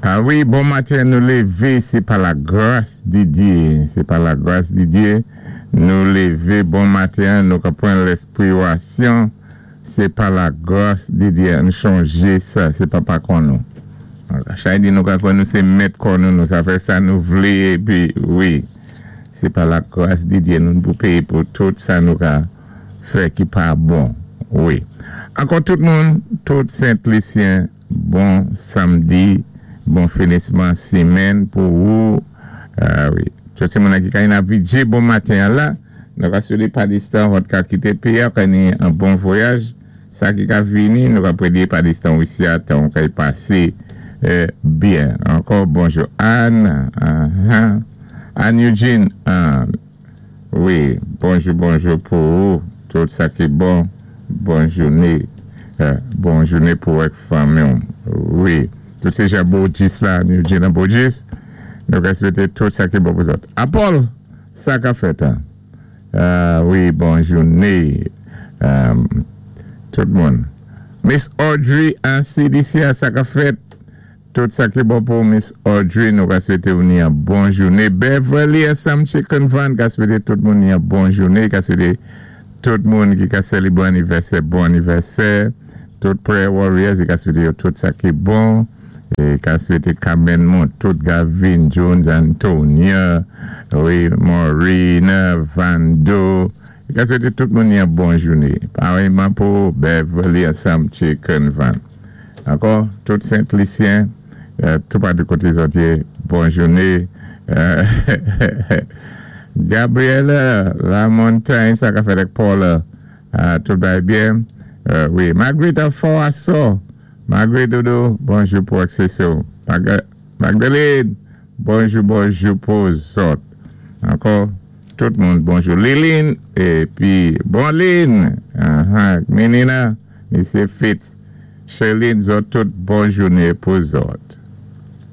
A wi, bon maten, nou lévé, sé pa la gras di Dye, sé pa la gras di Dye, nou lévé bon maten, nou ka pran lèspirasyon, sé pa la gras di Dye, ann chonjé sa, sé pa pa kò nou. Chay di nou ka kwè nou sé mèt kò nou, nou sa fè sa nou vlé, épi wi, sé pa la gras di Dye nou pou péyé pou tout sa nou ka fè ki pa bon, wi. Ankò tout moun, tout Sent Lisyen, bon samdi, bon finisman simenn pou ou, wi. Tout ti moun ki ka yin ap vidjé bon maten an la, nou ka swété pa distan vòt ka kité péyi a ka ni an bon vwayaj, sa ki ka vini nou ka prédé pa distan wisi a tan ou ka y pasé byen. Ankò bonjou Anne, Anne Eugene, wi, bonjou bonjou pou ou, tout sa ki bon, bon jouné, bon jouné pou ak fanmi ou, wi. Tout sé jan Bojis la, Anne Eugene an Bojis, nou ka swété tout sa ki bon pou zòt. A Paul, sa ka fèt an? Wi, bon jouné tout moun. Miss Audrey an CDC a, sa ka fèt? Tout sa ki bon pou Miss Audrey, nou ka swété ou ni an bon jouné. Beverly ansanm Chicken Van ka swété tout moun ni an bon jouné, ka swété tout moun ki ka sélébwé anivèsè bon anivèsè. Tout Prayer Warriors, i ka swété yo tout sa ki bon. É ka swété Carmen Montout, Gavin Jones, Antonia, wi, Maureen, Vando. I ka swété tout moun ni an bon jouné. Paréyman pou Beverly ansanm Chicken Van. Ankò, tout Sent Lisyen, tout patou koté zòt yé, bon jouné. Gabriela La Montagne, sa ka fèt ak Paula, tout bagay byen. Wi, Marguerite an fò asò. Marguerite Dodo, bonjou pou ak Cécile. Magdalene, bonjou bonjou pou zòt. Ankò, tout moun bonjou. Liline, épi bon Lynn, Menina, Mesye Fitz, Sherline, zòt tout bon jouné pou zòt.